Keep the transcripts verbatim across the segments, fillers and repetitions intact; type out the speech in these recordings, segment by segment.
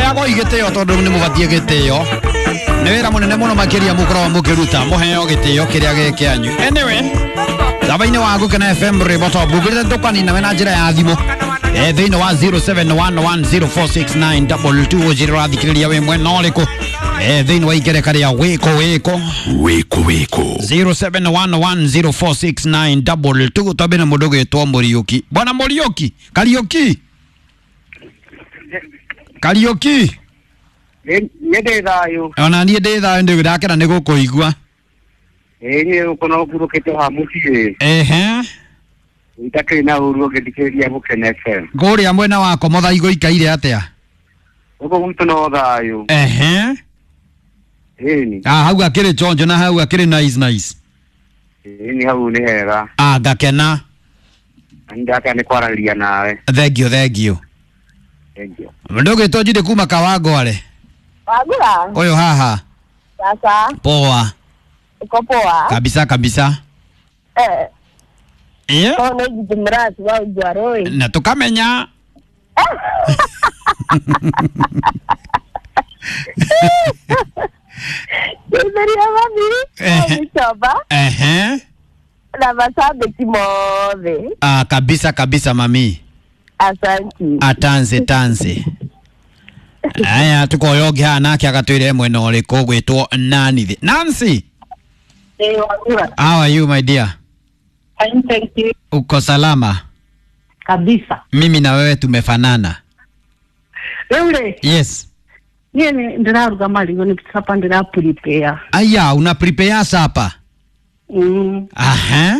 Heagwo igĩtĩo tondũ nĩ mũbatiĩ gĩtĩo. Nĩ wĩra mũnene mũno makĩria mũkoragwo mũkĩruta, mũheo gĩtĩo kĩrĩa gĩ kĩanyu. Anyway, thaba-inĩ wa Gũkena F M rwĩmbo to mbugĩrĩte tũkanina we na njĩra ya thimũ. Eh, thĩinĩ wa zero seven one one zero four six nine double two ũnjĩre ũrathikĩrĩria wĩ mwena ũrĩkũ. Eh, thĩinĩ wa igereka rĩa wĩkũ wĩkũ. Wĩkũ wĩkũ. zero seven one one zero four six nine double two twambe na mũndũ ũgwĩtwo Mũriũki. Bwana Mũriũki, Kariũki. Kariũki. Nĩ ndĩ thayũ. Ona niĩ ndĩ thayũ, ndĩ ndakena nĩ gũkũigua. Ĩĩ niĩ gũkũ no ngurũkĩte haha mũciĩ. Ehe. Itakĩrĩ na ũru ũngĩthikĩrĩria Gũkena F M. Kũrĩa mwena wa Komotha igũikaire atĩa? Gũkũ gwitũ no thayũ. Ehe. Ĩni. Ah, hau akĩrĩ chonjo na hau akĩrĩ nice nice. Ĩni hau nĩ hega. Ah, ngakena. Ndaka nĩ kwaranĩria nawe. Thank you, thank you. Thank you. Mũndũ ũgwĩtwo Judy kuma Kawangware. Wagura. Ũyũ haha. Sasa. Poa. Uko poa? Kabisa kabisa. Eh. Eh? Ko nĩ Judy Murati wa Ugwaroi. Na tukamenya. Ndetheria mami. Eh. Gĩcoba. Ehe. Na mashabiki mothe. Ah, kabisa kabisa mami. Asante. Atanze tanze. Aya tukoyo ũngĩ haha nake agatwĩre mwena ũrĩkũ ũgwĩtwo Nancy. Nancy. Eh, Wagura. How are you my dear? Fine, thank you. Uko salama? Kabisa. Mimi na wewe tumefanana. Wewe? Yes. Niĩ ndĩraruga marigũ nĩ sapa ndĩra prepare. Aya, una prepare sapa? Mm. Aha.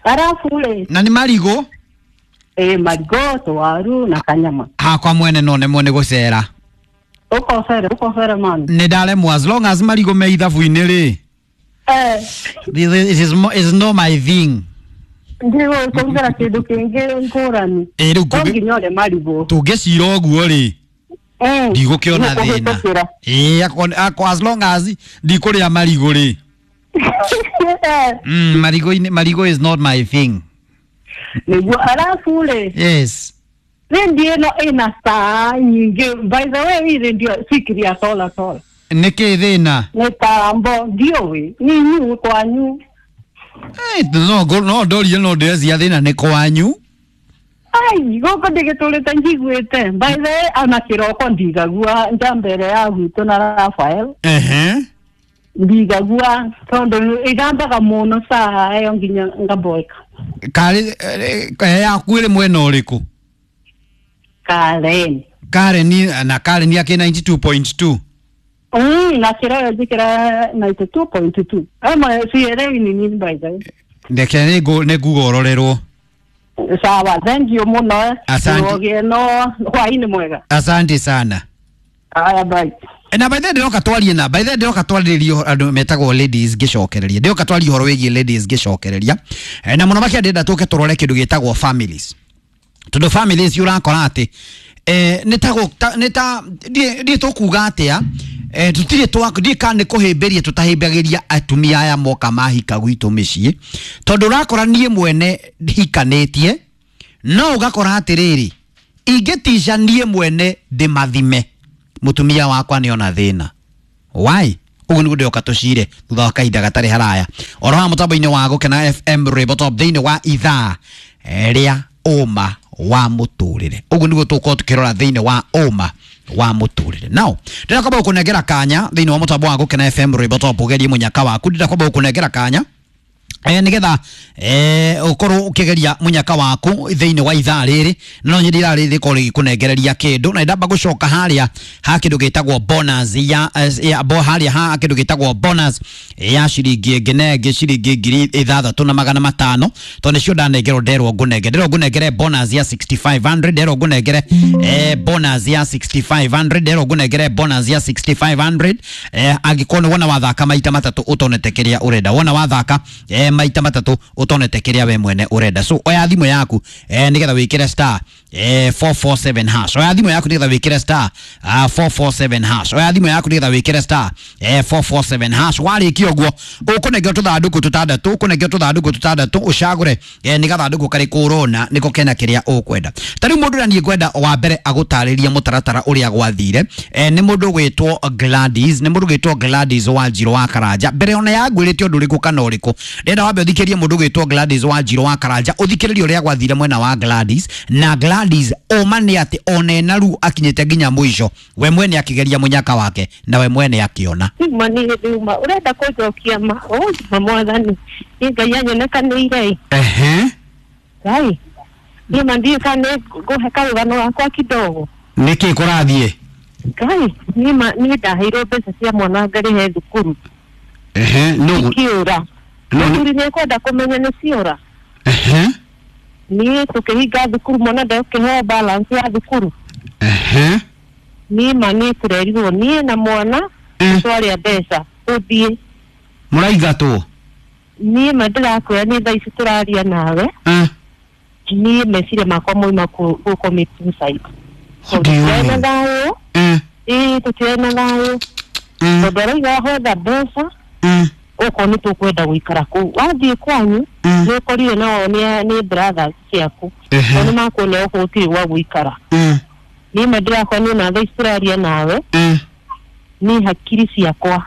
Arafu rĩ. Na nĩ marigũ? Eh, marigũ, tũwaru na kanyama. Hakwa mwene no nemwo nĩ gũcera. Ũkocere, ũkocere man. Nĩ ndaremwo as long as marigũ me ithabu-inĩ rĩ. Eh. This is is not my thing. Ndigũkũrugĩra kĩndũ kĩngĩ ngũrani. Ĩ rĩu No nginya ũrĩe marigũ. Tũngĩcira ũguo rĩ. Mm. Ndigũkĩona thĩna. Ĩ akwa akwa as long as ndikũrĩa marigũ rĩ. Mm, marigũ marigũ is not my thing. Nĩguo arabu rĩ. Yes. Redio ĩno ĩna saa nyingĩ. By the way, hii redio sikiria sola sola. Nĩkĩ thĩna? Mĩtambo ndiũĩ nĩ inyuĩ kwanyu. Eh, no no ndorie no ndĩrecia thĩna nĩ kwanyu. Ai, gũkũ ndĩgĩtũrĩte njiguĩte. By the way, ona kĩroko ndigagua nja mbere ya gwitũ na Rafael. Ehe. Ndigagua tondũ ĩgambaga mũno saa ĩyo nginya ngaboeka. Karĩ yaku ĩrĩ mwena ũrĩkũ? Karen. Karen na Karen yake ninety two point two. Mm, na kĩrĩa njĩkĩra ninety two point two. Ama sielewi ni nini by the way. Ndeke nĩ ngũgororerwo. Sawa, thank you mũno. Asante. Ũgĩe no hwaĩ-inĩ mwega. Asante sana. Aya, bye. Na by the way ndĩroka twarie na by the way ndĩroka twarĩrĩria andũ metagwo ladies ngĩcokereria. Ndĩroka twarie ũhoro wĩgiĩ ladies ngĩcokereria. Na mũno makĩria ndĩrenda tũke tũrore kĩndũ gĩtagwo families. Tondũ families ũrakora atĩ eh nĩ ta nĩ ta ndiĩ tũkuga atĩa eh tutirĩ twa ndiĩ kana nĩ kũhĩmbĩria tũtahĩmbagĩria atumia aya moka mahika gwitũ mĩciĩ. Tondũ ũrakora niĩ mwene hikanĩtie no ũgakora atĩrĩrĩ ingĩtica niĩ mwene ndĩmathime mũtumia wakwa nĩona thĩna. Why? Ũguo nĩguo ndĩroka tũcire thutha wa kahinda gatarĩ haraya. Oro haha mũtambo-inĩ wa Gũkena F M rwĩmbo top thĩinĩ wa ithaa rĩa ũma wa mũtũrĩre. Ũguo nĩguo tũgũkorwo tũkĩrora thĩinĩ wa ũma wa mũtũrĩre. Now, ndĩrenda kwamba gũkũnengera kanya thĩinĩ wa mũtambo wa Gũkena F M rwĩmbo top ũgerie mũnyaka waku. Ndĩrenda kwamba gũkũnengera kanya eh nigetha eh ukorwo ukigeria munyaka waku thiini wa ithaa riri no nyindi ithaa riri rikorwo rigikunegereria kindu na ndamba gucoka haria ha kindu gitagwo bonus ya ya bo haria ha kindu gitagwo bonus ya ciringi ĩngĩ na ĩngĩ ciringi ngiri ithathatũ na magana matano tondu nicio ndanengerwo nderwo ngunenge nderwo ngunengere bonus ya sixty five hundred nderwo ngunengere eh bonus ya sixty five hundred nderwo ngunengere bonus ya sixty five hundred eh angikorwo ni wona wathaka maita matatu utonete kiria urenda wona wathaka eh maita matatu utonete kiria we mwene urenda so oya thimu yaku eh nigetha wikire star eh, four four seven hash. Oya thimũ yaku nĩgetha wĩkĩre star uh, four four seven hash. Oya thimũ yaku nĩgetha wĩkĩre star eh, four four seven hash. Warĩkia ũguo ũkũnengera tũthandũkũ tũtandatũ, ũkũnengera tũthandũkũ tũtandatũ, ũcagũre eh, nĩ gathandũkũ karĩkũ ũrona nĩko kena kĩrĩa ũkwenda. Ta rĩu mũndũ ũrĩa niĩ ngwenda wa mbere agũtarĩrie mũtaratara ũrĩa gwathire eh, nĩ mũndũ ũgwĩtwo Gladys, nĩ mũndũ ũgwĩtwo Gladys Wanjirũ wa Karanja. Mbere ona ya ngwĩrĩte ũndũ ũrĩkũ kana ũrĩkũ, ndĩrenda wambe ũthikĩrie mũndũ ũgwĩtwo Gladys Wanjirũ wa Karanja, ũthikĩrĩrie ũrĩa gwathire mwena wa Gladys. Na Gladys ũma nĩ atĩ ona ena ruo akinyĩte nginya mũico, we mwene akĩgeria mũnyaka wake na we mwene akĩona. Uma nĩ hĩndĩ uma ũrenda kũnjokia ma ũnjuma mwathani nĩ Ngai anyonekanĩire. Ehe. Ngai niĩ ma ndiũĩ kana nĩ ngũhe karũgano gakwa kidogo. Nĩkĩ kũrathiĩ? Ngai niĩ ma niĩ ndaheirwo mbeca cia mwana ngarĩhe thukuru. Ehe. Nũ ikiũra. Mũthuri nĩ ekwenda kũmenya nĩ ciora. Ehe. Niĩ tũkĩhinga thukuru mwana ndekũheo balance ya thukuru. Ehe. Niĩ ma niĩ tũrerirwo niĩ na mwana twarĩa mbeca tũthiĩ. Mũraingatwo? Niĩ ma ndĩrakwĩra nĩ thaa ici tũraria nawe. Niĩ meciria makwa moima gũ commit suicide. Tũtirĩ na thayũ. Ĩĩ tũtirĩ na thayũ. Tondũ arauga hotha mbeca okorwo nĩ tũkwenda gũikara kũu. Wathiĩ kwanyu nĩ ũkorire nao nĩ brothers ciaku. Nao nĩ makuonia gũkũ gũtirĩ gwa gũikara. Niĩ ma ndĩrakora niĩ na thaa ici tũraria nawe niĩ hakiri ciakwa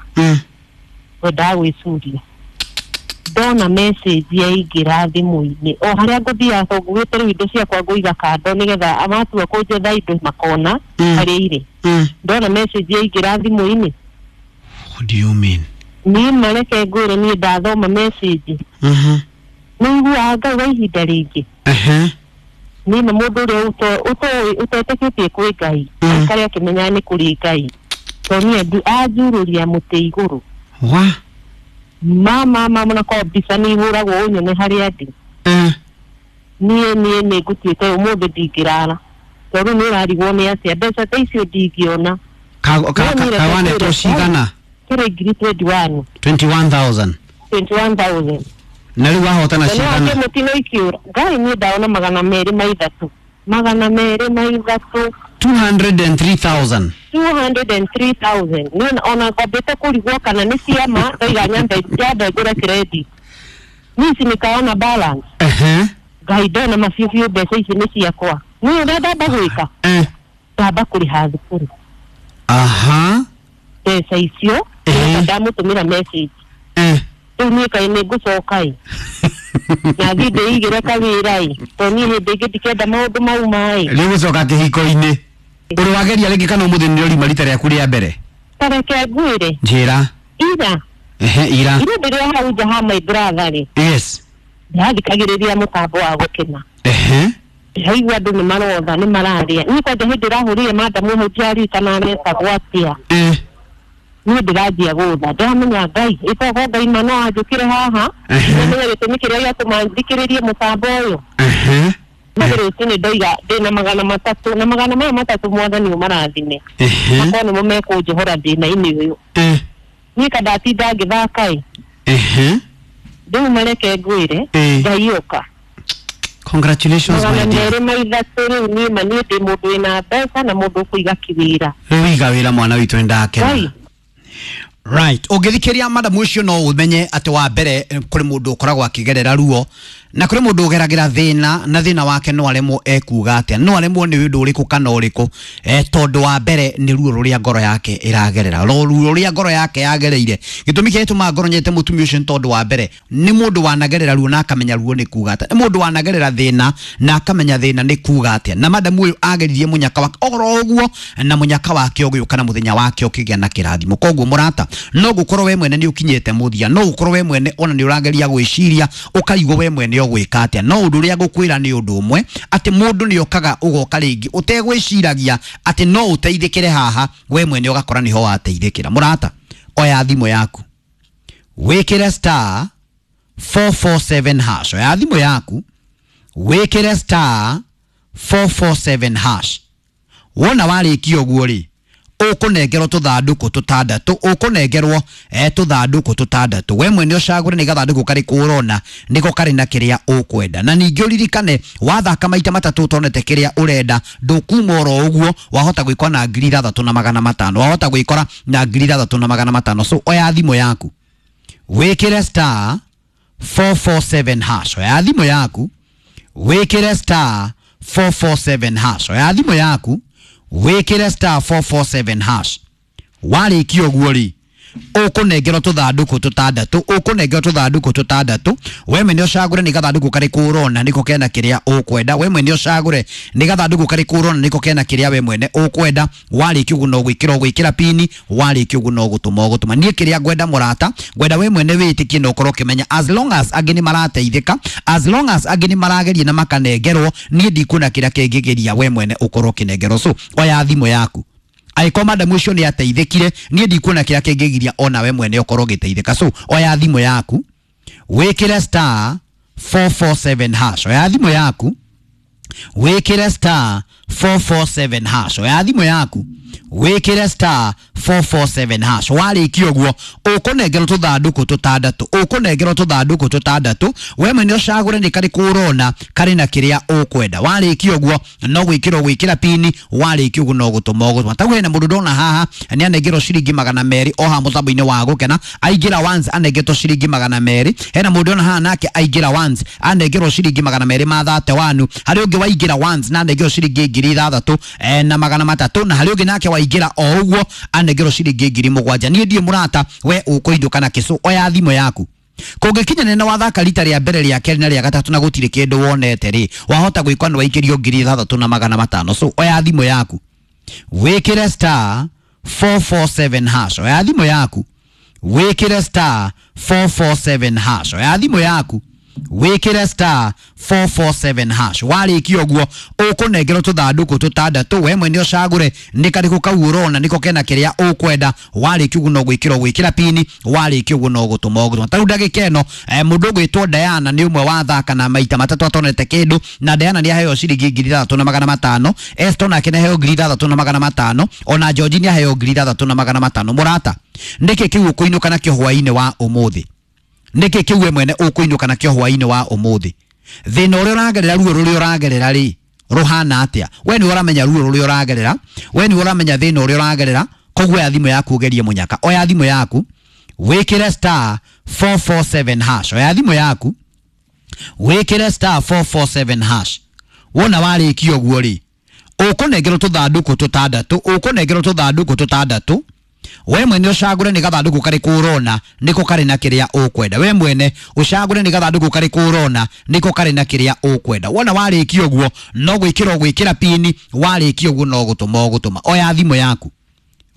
ngwendaga gwĩcuria. Ndona message yaingĩra thimũ-inĩ o harĩa ngũthiaga tondũ ngugĩte rĩu indo ciakwa ngũiga kando nĩgetha matua kũnjetha indo makona harĩa irĩ. Ndona message yaingĩra thimũ-inĩ. What do you mean? Niĩ ma reke ngwĩre niĩ ndathoma message. Nĩ iguaga Ngai wa ihinda rĩngĩ. Niĩ ma mũndũ ũrĩa ũtetĩkĩtie kwĩ Ngai aikare akĩmenyaga nĩ kũrĩ Ngai. Tondũ niĩ anjurũria mũtĩ igũrũ. Wa? Mama mama na kwa mbica nĩ ihũragwo ũnyone harĩa ndĩ. Niĩ niĩ nĩ ngũtuĩte ũmũthĩ ndingĩrara tondũ nĩ ũrarigwo nĩ atĩa mbeca ta icio ndingĩona. Kawanetwo cigana? Kĩrĩ ngiri twenty one. twenty one thousand. twenty one thousand. Na rĩu wahotana cigana? Mũtino ikiũra Ngai niĩ ndaona magana merĩ ma ithatũ. Magana merĩ ma ithatũ. two hundred and three thousand. two hundred and three thousand. Niĩ ona ngwambĩte kũrigwo kana nĩ ciama ndaiga nyambe nyambe ngũre credit. Niĩ ici nĩkaona balance. Ehe. Ngai ndona mabiũ biũ mbeca ici nĩ ciakwa. Niĩ ũrĩa ndamba gwĩka? Ndamba kũrĩha thukuru. Aha. Mbeca icio ndamũtũmĩra message. Rĩu niĩ kaĩ nĩ ngũcoka ĩ. Na thiĩ ndĩigĩre kawĩra ĩ. Tondũ niĩ hĩndĩ ĩngĩ ndikenda maũndũ mau ma ĩ. Rĩu gũcoka kĩhiko-inĩ. Ũrĩ wageria rĩngĩ kana ũmũthĩ nĩ ũrima rita rĩaku rĩa mbere? Ta reke ngwĩre. Njĩra. Ira. Ehe, ira. Ira ndĩrĩ hau nja ha my brother rĩ. Yes. Ndĩrathikagĩrĩria mũtambo wa gũkena. Ehe. Ndĩraigua andũ nĩ marotha nĩ mararia. Niĩ kwanja hĩndĩ ĩrahũrire madamu hau ndiaririkana aretagwo atĩa. Niĩ ndĩranjia gũtha ndĩramenya Ngai ĩtogo Ngai ma no anjũkĩre haha. Ndĩramenya gĩtũmi kĩrĩa gĩatũma thikĩrĩrie mũtambo ũyũ. Mathĩ rũcinĩ ndoiga ndĩna magana matatũ na magana maya matatũ mwathani ũmarathime. Makorwo nĩmo mekũnjohora thĩna-inĩ ũyũ. Niĩ ka ndatinda ngĩthaka ĩ. Rĩu mareke ngwĩre Ngai ũka. Congratulations my dear. Magana merĩ ma ithatũ rĩu niĩ ma niĩ ndĩ mũndũ wĩna mbeca na mũndũ ũkũiga kĩwĩra. Rĩu iga wĩra mwana witũ nĩndakena. Right. Ũngĩthikĩria madamu ũcio no ũmenye atĩ wa mbere kũrĩ mũndũ ũkoragwo akĩgerera ruo na kũrĩ mũndũ ũgeragĩra thĩna na thĩna wake no aremwo ekuga atĩa, no aremwo nĩ ũndũ ũrĩkũ kana ũrĩkũ eh, tondũ wa mbere nĩ ruo rũrĩa ngoro yake ĩragerera, ruo rũrĩa ngoro yake yagereire. Gĩtũmi kĩrĩa gĩtũmaga ngoro nyete mũtumia ũcio nĩ tondũ wa mbere nĩ mũndũ wanagerera ruo na akamenya ruo nĩ kuga atĩa, nĩ mũndũ wanagerera thĩna na akamenya thĩna nĩ kuga atĩa. Na madamu ũyũ ageririe mũnyaka wake oro ũguo na mũnyaka wake ũgĩũka na mũthenya wake ũkĩgĩa na kĩrathimo. Koguo mũrata, no gũkorwo we mwene nĩ ũkinyĩte mũthia, no gũkorwo we mwene ona nĩ ũrageria gwĩciria ũkaigwo we mwene ũgwĩka atĩa, no ũndũ ũrĩa ngũkwĩra nĩ ũndũ ũmwe atĩ mũndũ nĩ okaga ũgoka rĩngĩ ũtegwĩciragia atĩ no ũteithĩkĩre haha, we mwene ũgakora nĩho wateithĩkĩra. Mũrata, oya thimũ yaku wĩkĩre star four four seven hash. Oya thimũ yaku wĩkĩre star four four seven hash. Wona warĩkia ũguo rĩ, Ũkũnengerwo tũthandũkũ tũtandatũ, ũkũnengerwo eh, tũthandũkũ tũtandatũ. We mwene ũcagũre nĩ gathandũkũ karĩkũ ũrona nĩko karĩ na kĩrĩa ũkwenda. Na ningĩ ũririkane wathaka maita matatũ ũtonete kĩrĩa ũrenda ndũkuma oro ũguo, wahota gwĩkora na ngiri ithathatũ na magana matano, wahota gwĩkora na ngiri ithathatũ na magana matano. So oya thimũ yaku wĩkĩre star four four seven hash, oya thimũ yaku wĩkĩre star four four seven hash, oya thimũ yaku wĩkĩre star four four seven hash. Warĩkia ũguo rĩ, ũkũnengerwo tũthandũkũ tũtandatũ, ũkũnengerwo tũthandũkũ tũtandatũ. We mwene ũcagũre nĩ gathandũkũ karĩkũ ũrona nĩko kena kĩrĩa ũkwenda. We mwene ũcagũre nĩ gathandũkũ karĩkũ ũrona nĩko kena kĩrĩa we mwene ũkwenda. Warĩkia ũguo no gwĩkĩra ũgwĩkĩra pini, warĩkia ũguo no gũtũma ũgũtũma. Niĩ kĩrĩa ngwenda mũrata, ngwenda we mwene wĩtĩkie na ũkorwo ũkĩmenya as long as angĩ nĩ marateithĩka, as long as angĩ nĩ marageria na makanengerwo, niĩ ndikuona kĩrĩa kĩngĩgeria we mwene ũkorwo ũkĩnengerwo. So oya thimũ yaku, angĩkorwo madam ũcio nĩ ateithĩkire, niĩ ndikuona kĩrĩa kĩngĩgiria ona we mwene ũkorwo ũgĩteithĩka. So oya thimũ yaku wĩkĩre star four four seven hash, oya thimũ yaku wĩkĩre star four four seven hash, oya thimũ yaku wĩkĩre star four four seven hash. Warĩkia ũguo ũkũnengerwo tũthandũkũ tũtandatũ, ũkũnengerwo tũthandũkũ tũtandatũ. We mwene ũcagũre nĩ karĩkũ ũrona karĩ na kĩrĩa ũkwenda. Warĩkia ũguo no gwĩkĩra ũgwĩkĩra pini, warĩkia ũguo no gũtũma ũgũtũma. Tau hena mũndũ ndona haha nĩ anengerwo ciringi magana merĩ o haha mũtambo-inĩ wa Gũkena, aingĩra once anengetwo ciringi magana merĩ. Hena mũndũ ndona haha nake aingĩra once anengerwo ciringi magana merĩ ma thate wanu. Harĩ ũngĩ waingĩra once na anengerwo ciringi ngiri ithathatũ eh, na magana matatũ, na harĩ ũngĩ nake waingĩra o ũguo anengerwo ciringi ngiri mũgwanja. Niĩ ndiĩ mũrata, we ũkũindũka na kĩcũ. Oya thimũ yaku, kũngĩkinya nĩ wathaka rita rĩa mbere, rĩa kerĩ na rĩa gatatũ na gũtirĩ kĩndũ wonete rĩ, wahota gwĩkwa nĩ waikĩrio ngiri ithathatũ na magana matano. So oya thimũ yaku wĩkĩre star four four seven hash, oya thimũ yaku wĩkĩre star four four seven hash, oya thimũ yaku wĩkĩre star four four seven hash. Warĩkia ũguo ũkũnengerwo tũthandũkũ tũtandatũ, we mwene ũcagũre nĩ karĩkũ kau ũrona nĩko kena kĩrĩa ũkwenda. Warĩkia ũguo no gwĩkĩra ũgwĩkĩra pini, warĩkia ũguo no gũtũma ũgũtũma. Tarĩu ndagĩka ĩno eh, mũndũ ũgwĩtwo Diana nĩ ũmwe wathaka na maita matatũ atonete kĩndũ, na Diana nĩ aheo ciringi ngiri ithathatũ na magana matano. Eston nake nĩ aheo ngiri ithathatũ na magana matano, ona George nĩ aheo ngiri ithathatũ na magana matano. Mũrata, nĩkĩ kĩu ũkũinũka nakĩo hwaĩ-inĩ wa ũmũthĩ? Nĩkĩ kĩu we mwene ũkũinũka nakĩo hwaĩ-inĩ wa ũmũthĩ? Thĩna ũrĩa ũragerera, ruo rũrĩa ũragerera rĩ, rũhana atĩa? We nĩwe ũramenya ruo rũrĩa ũragerera, we nĩwe ũramenya thĩna ũrĩa ũragerera. Koguo oya thimũ yaku ũgerie mũnyaka. Oya thimũ yaku wĩkĩre star four four seven hash, oya thimũ yaku wĩkĩre star four four seven hash. Wona warĩkia ũguo rĩ, ũkũnengerwo tũthandũkũ tũtandatũ, ũkũnengerwo tũthandũkũ tũtandatũ. We mwene ũcagũre nĩ gathandũkũ karĩkũ ũrona nĩko karĩ na kĩrĩa ũkwenda. We mwene ũcagũre nĩ gathandũkũ karĩkũ ũrona nĩko karĩ na kĩrĩa ũkwenda. Wona warĩkia ũguo no gwĩkĩra ũgwĩkĩra pini, warĩkia ũguo no gũtũma ũgũtũma. Oya thimũ yaku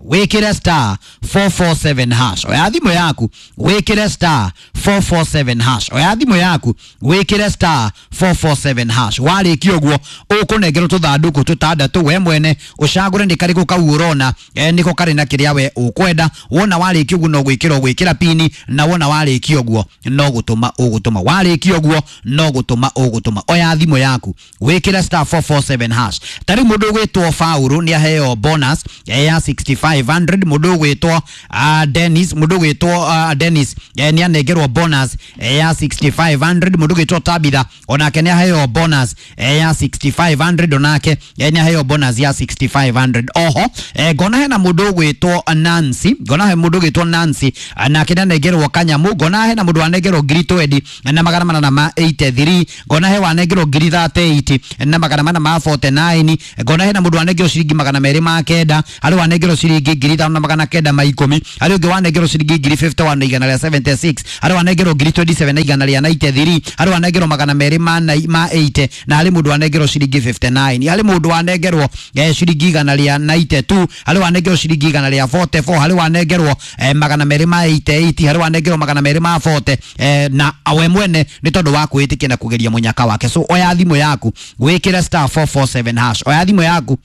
wĩkĩre star four four seven hash, oya thimũ yaku wĩkĩre star four four seven hash, oya thimũ yaku wĩkĩre star four four seven hash. Warĩkia ũguo ũkũnengerwo tũthandũkũ tũtandatũ, we mwene ũcagũre nĩ karĩkũ kau ũrona eh, nĩko karĩ na kĩrĩa we ũkwenda. Wona warĩkia ũguo no gwĩkĩra ũgwĩkĩra pini, na wona warĩkia ũguo no gũtũma ũgũtũma. Warĩkia ũguo no gũtũma ũgũtũma. Oya thimũ yaku wĩkĩre star four four seven hash. Ta rĩu mũndũ ũgwĩtwo Faulu nĩ aheo bonus eh, ya sixty five hundred. Mũndũ ũgwĩtwo uh, Dennis, mũndũ ũgwĩtwo uh, Dennis eh, nĩ anengerwo bonus eh, ya sixty five hundred. Mũndũ ũgwĩtwo Tabitha onake nĩ aheo bonus eh, ya sixty five hundred, onake eh, nĩ aheo bonus ya sixty five hundred. Oho eh, ngona hena mũndũ ũgwĩtwo Nancy, ngona he mũndũ ũgwĩtwo Nancy nake nĩ anengerwo kanyamu. Ngona hena mũndũ anengerwo ngiri twenty na magana manana ma eighty three. Ngona he wanengerwo ngiri thirty eight na magana mana ma forty nine. Ngona hena mũndũ anengerwo ciringi magana merĩ ma kenda, harĩ wanengerwo ciringi ngiri ithano na magana kenda ma ikũmi, harĩ ũngĩ wanengerwo ciringi ngiri fifty one na igana rĩa seventy six, harĩ wanengerwo ngiri twenty seven na igana rĩa ninety three, harĩ wanengerwo magana merĩ ma ma eighty, na harĩ mũndũ wanengerwo ciringi fifty nine, harĩ mũndũ wanengerwo eh, ciringi igana rĩa ninety two, harĩ wanengerwo ciringi igana rĩa forty four, harĩ wanengerwo eh, magana merĩ ma eighty eight, harĩ wanengerwo magana merĩ ma forty eh, na we mwene nĩ tondũ wa kwĩtĩkia na kũgeria mũnyaka wake. So oya thimũ yaku wĩkĩre star four four seven hash, oya thimũ yaku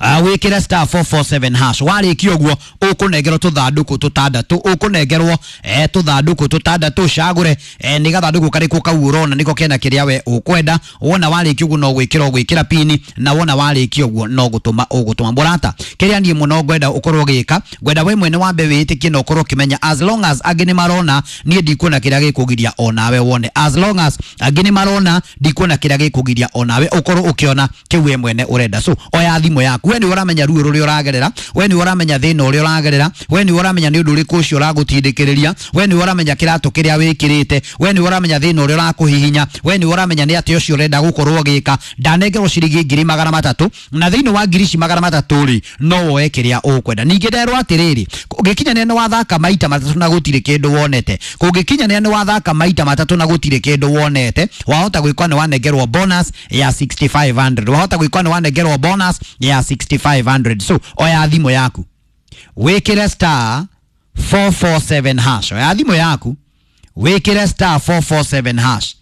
Uh, wikire star four four seven hash warikia uguo ukunengerwo tuthanduku tutandatu ukunengerwo eh tuthanduku tutandatu cagure eh ni gathanduku kariku kau urona niko kena kiria we ukwenda wona warikia uguo no gwikira gwikira pini na wona warikia uguo no gutuma ugutuma murata kiria nie muno ngwenda ukorwo gika ngwenda we mwene wambe witikie na ukorwo kimenya as long as angi ni marona nie ndikuona kiria gikugiria onawe wone as long as angi ni marona ndikuona kiria gikugiria onawe ukorwo ukiona kiu we mwene urenda so oya thimu yaku we ni uramenya ruo ruria uragerera we ni uramenya thina uria uragerera we ni uramenya ni undu uriku ucio uragutindikiriria we ni uramenya kiratu kiria wikirite we ni uramenya thina uria urakuhihinya we ni uramenya ni ati ucio urenda gukorwo gika ndanengerwo ciringi ngiri magana matatu na thiini wa ngiri ici magana matatu ri no woe kiria ukwenda ningi nderwo atiriri kungikinya ni wathaka maita matatu na gutiri kindu wonete kungikinya ni wathaka maita matatu na gutiri kindu wonete wahota gwikwa ni wanengerwo bonus ya sixty-five hundred wahota gwikwa ni wanengerwo bonus ya sixty-five hundred so oya thimu yaku wikire star four four seven hash oya thimu yaku wikire star four four seven hash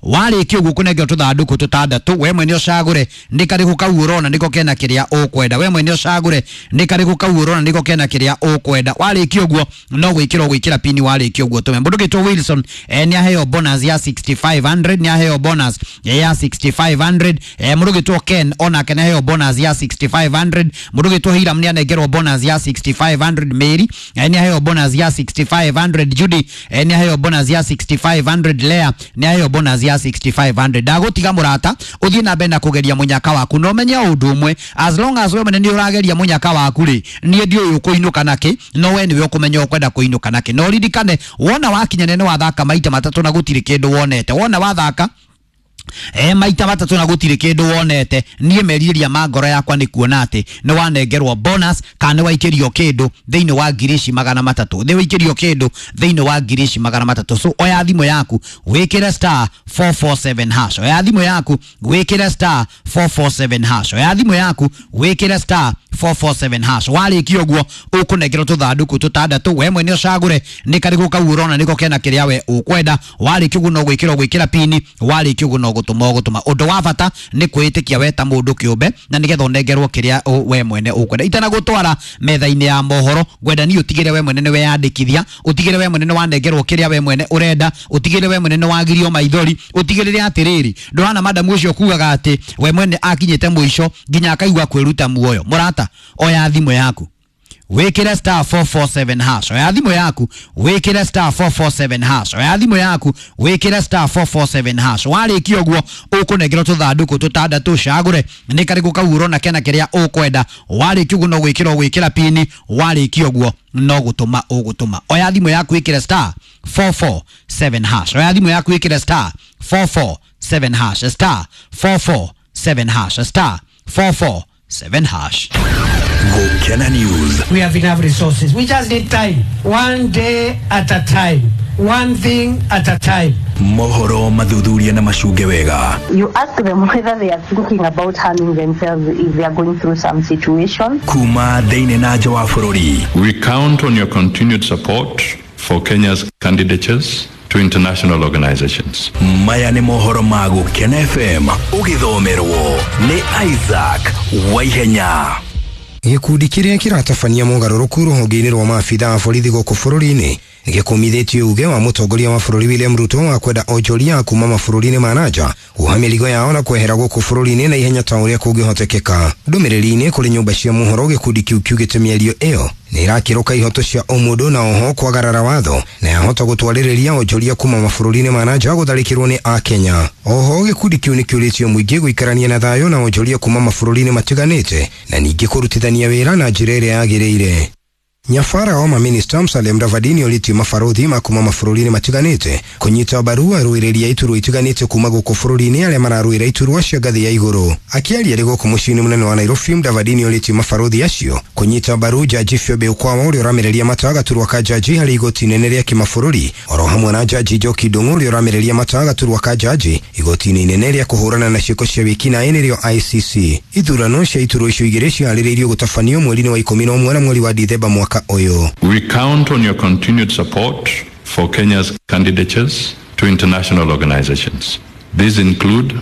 warikia uguo kunengerwo tuthanduku tutandatu we mwene ucagure ni kariku kau urona niko kena kiria ukwenda we mwene ucagure ni kariku kau urona niko kena kiria ukwenda warikia uguo no gwikira gwikira pini warikia uguo tume mundu gitwo Wilson eh, ni aheo bonus ya sixty-five hundred ni aheo bonus ya sixty-five hundred eh, mundu gitwo Ken onake ni aheo bonus ya sixty-five hundred mundu gitwo Hiram ni anengerwo bonus ya sixty-five hundred Mary eh, ni aheo bonus ya sixty-five hundred Judy eh, ni aheo bonus ya sixty-five hundred Lea ni aheo bonus ya sixty-five hundred ndagutiga murata uthie na mbere na kugeria munyaka waku no menye undu umwe as long as we mwene ni urageria munyaka waku ri nie ndiũĩ ũkũinũka naki no we niwe ũkũmenya ũkwenda kũinũka naki no ririkane wona wakinya nene wathaka maita matatu na gũtirĩ kĩndũ wonete wona wathaka e maita matatu na gutire kindu wonete nie meriria ma ngoro yakwa ni kuona ati ni wanengerwo bonus kana ni waikirio kindu thiini wa ngiri ici magana matatu ni waikirio kindu thiini wa ngiri ici magana matatu so oya thimu yaku wikire star four four seven hash oya thimu yaku wikire star four four seven hash oya thimu yaku wikire star four four seven hash warikia uguo ukunengerwo tuthanduku tutandatu we mwene ucagure ni kariku kau urona niko kena kiria we ukwenda warikia uguo no gwikira gwikira pini warikia uguo no gutuma gutuma undu wa bata ni kwitikia we ta mundu kiumbe na nigetha unengerwo kiria we mwene ukwenda itana gutwara metha-ini ya mohoro ngwenda ni utigire we mwene ni weyandikithia utigire we mwene ni wanengerwo kiria we mwene urenda utigire we mwene ni wagirio maithori utigirire atiriri ndurana madamu ucio kugaga ati we mwene akinyite mwisho nginya akaigua kwiruta muoyo murata oya thimu yaku wikire star four four seven hash oya thimu yaku wikire star four four seven hash oya thimu yaku wikire star four four seven hash warikia uguo ukunengerwo tuthanduku tutandatu cagure ni kariku kau urona kena kiria ukwenda warikia uguo no gwikira gwikira pini warikia uguo no gutuma ugutuma oya thimu yaku wikire star four four seven hash oya thimu yaku wikire star four four seven hash star four four seven hash star four four seven hash. Gukena News. We have enough resources. We just need time. One day at a time. One thing at a time. Mohoro mathuthuria na macunge wega. You ask them whether they are thinking about harming themselves if they are going through some situation. Kuma thĩinĩ na nja wa bũrũri. We count on your continued support for Kenya's candidatures to international organizations. Maya nĩ mohoro ma Gukena F M ũgĩthomerwo nĩ Isaac Waihenya. Gĩkundi kĩrĩa kĩratabania mũgarũrũku rũhonge-inĩ rwa maabitha a borithi gũkũ bũrũri-inĩ nĩgĩkũmithĩtie uge wa mũtongoria wa bũrũri William Ruto wa kwenda onjoria kuma mabũrũri-inĩ ma nanja kuoha mĩrigo yao na kwehera gũkũ bũrũri-inĩ na ihenya ta ũrĩa kũngĩhotekeka. Ndũmĩrĩri-inĩ kũrĩ nyũmba cia mohoro gĩkundi kĩu kiugĩte mĩario ĩyo nĩ ĩrakĩrũka ihoto cia ũmũndũ na oho kwagarara watho na yahota gũtwarĩrĩria onjoria kuma mabũrũri-inĩ ma nanja gũtharĩkĩrwo nĩ akenya. Oho gĩkundi kĩu nĩkĩũrĩtio mũingĩ gũikarania na thayũ na onjoria kuma mabũrũri-inĩ matiganĩte na ningĩ kũrutithania wĩra na njĩra ĩrĩa yagĩrĩire. Nyafara wa maminista Musalia Mudavadi nĩorĩtie mabarũthi ma kuma mabũrũri-inĩ matiganĩte kũnyita mbaru arũĩrĩri a iturwa itiganĩte kuma gũkũ bũrũri-inĩ arĩa mararũĩra iturwa cia ngathĩ ya igũrũ. Akĩaria arĩ gũkũ mũciĩ-inĩ mũnene wa Nairobi, Mudavadi nĩorĩtie mabarũthi acio kũnyita mbaru Jaji Phoebe Ukwawa ũrĩa ũramereria mata gaturwa ka jaji harĩ igoti inene rĩa kĩmabũrũri oro hamwe na Jaji Njoki Ndung'u ũrĩa ũramereria mata gaturwa ka jaji igoti-inĩ inene rĩa kũhũrana na ciĩko cia wĩkinaĩ nĩrĩo I C C. Ithurano cia iturwa icio igĩrĩ ciharĩrĩirio gũtabanio mweri-inĩ wa ikũmi na ũmwe na mweri wa Dithemba mwaka ũyũ. We count on your continued support for Kenya's candidatures to international organizations. These include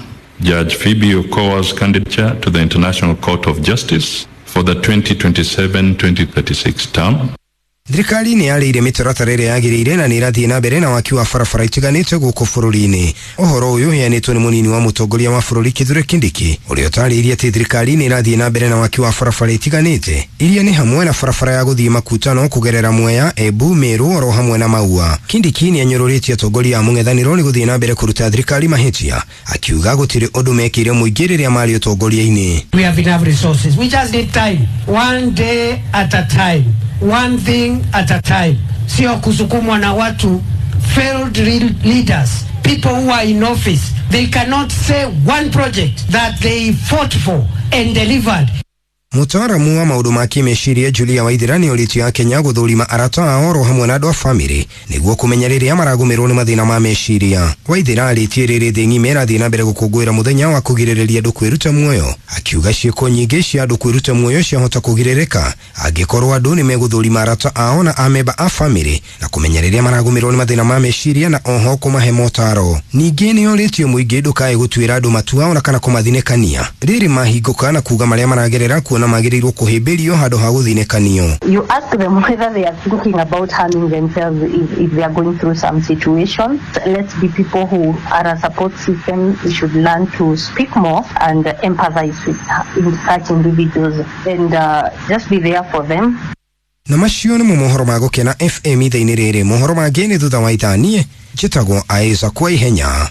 Judge Phoebe Okowa's candidature to the International Court of Justice for the twenty twenty-seven twenty thirty-six term. Thirikari nĩ yarĩire mĩtaratara ĩrĩa yagĩrĩire na nĩ ĩrathiĩ na mbere na waki wa barabara itiganĩte gũkũ bũrũri-inĩ. Ũhoro ũyũ ũheanĩtwo nĩ mũnini wa mũtongoria wa bũrũri Kithure Kindiki, ũrĩa ũtarĩirie atĩ thirikari nĩ ĩrathiĩ na mbere na waki wa barabara itiganĩte iria nĩ hamwe na barabara ya gũthiĩ Makutano kũgerera Mwea, Embu, Meru oro hamwe na Maua. Kindiki nĩ anyũrũrĩtie atongoria a mũng'ethanĩro nĩ gũthiĩ na mbere kũruta thirikari mahĩtia, akiuga gũtirĩ ũndũ mekĩire mũingĩ rĩrĩa marĩ ũtongoria-inĩ. We have enough resources. We just need time. One day at a time. One thing at a time. Sio kusukumwa na watu failed leaders, people who are in office. They cannot say one project that they fought for and delivered. Mũtaaramu wa maũndũ ma kĩmeciria Julia Waithera nĩ orĩtie Akenya gũthũrima arata ao oro hamwe na andũ a bamĩrĩ nĩguo kũmenya rĩrĩa maragũmĩrwo nĩ mathĩna ma meciria. Waithera arĩtie rĩrĩ thĩ ng'ima ĩrathiĩ na mbere gũkũngũĩra mũthenya wa kũgirĩrĩria andũ kwĩruta muoyo, akiuga ciĩko nyingĩ cia andũ kwĩruta muoyo ciahota kũgirĩrĩka angĩkorwo andũ nĩ megũthũrima arata ao na amemba a bamĩrĩ na kũmenya rĩrĩa maragũmĩrwo nĩ mathĩna ma meciria na oho kũmahe motaro. Ningĩ nĩ orĩtie mũingĩ ndũkae gũtuĩra andũ matua ona kana kũmathinĩkania rĩrĩ mahingũka na kuuga marĩa maragerera kuona magĩrĩirwo kũhĩmbĩrio handũ ha gũthinĩkanio. You ask them whether they are thinking about harming themselves if, if they are going through some situation. Let's be people who are a support system. We should learn to speak more and empathize with such individuals and uh, just be there for them. Na macio nĩ mohoro ma Gũkena F M ithaa-inĩ rĩrĩ. Mohoro mangĩ nĩ thutha wa ithaa. Niĩ njĩtagwo Isaac Waihenya.